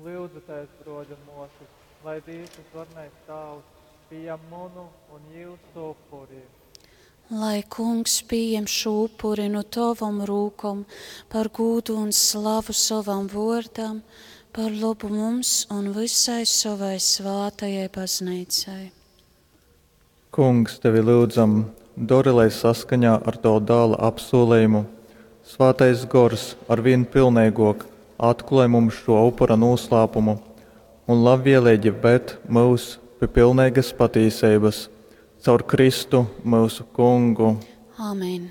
Lyudzitēs, bruoļi un muosys, lai Dīvs Vysvarenais Tāvs pījam munu un jiusu upuri. Lai Kungs pieņem šo upuri no tavam rūkom par gūdu un slavu sovam vārdam, par labu mums un visai savai svātajai baznīcai. Kungs, tevi lyudzam, dori, lai saskaņā ar tavu dāla apsūlejumu Svātais Gors arvīn pilneigōk atklōj mums šō upura nūslāpumu un labvieleigi ved myus pi pilneigas patīseibas caur Kristu, myusu Kungu. Āmen.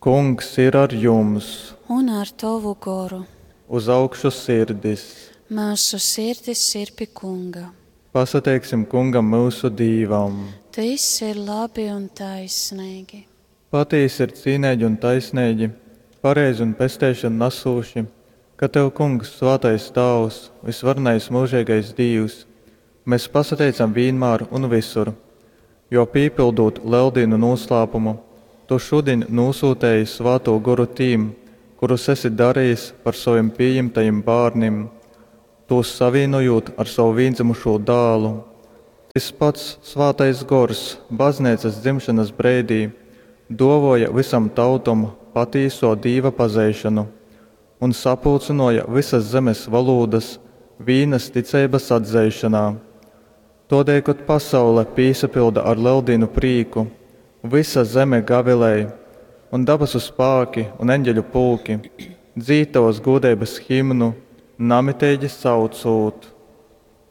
Kungs ir ar jums! Un ar tavu goru. Uz augšu sirdis! Mūsu sirdis ir pi Kunga. Pasateiksim Kungam myusu Dīvam! Tys ir labi un taisnīgi. Patīsi ir cīneigi un taisneigi, pareizi un pesteišonu nasūši, ka tev, Kungs, svātais Tāvs, vysvarenais myužeigais Dīvs, mes pasateicam vīnmār un vysur, jo, pīpyldūt Leldīnu nūslāpumu, tu šudiņ nūsūtēji Svātū Goru tīm, kurus esi darejis par sovim pījimtajim bārnim, tūs savīnojūt ar sovu vīndzymušū Dālu. Tys pats Svātais Gors bazneicas dzimšanas breidī dōvōja vysam tautom patīsō Dīva pazeišonu un sapulcynōja vysas zemes volūdas vīnas ticeibas atzeišonā. Tōdēļ, kod pasaule pīsapylda ar Leldīnu prīku, vysa zeme gavilej, un dabasu spāki un eņģeļu pulki dzīd tovas gūdeibas himnu, namiteigi saucūt.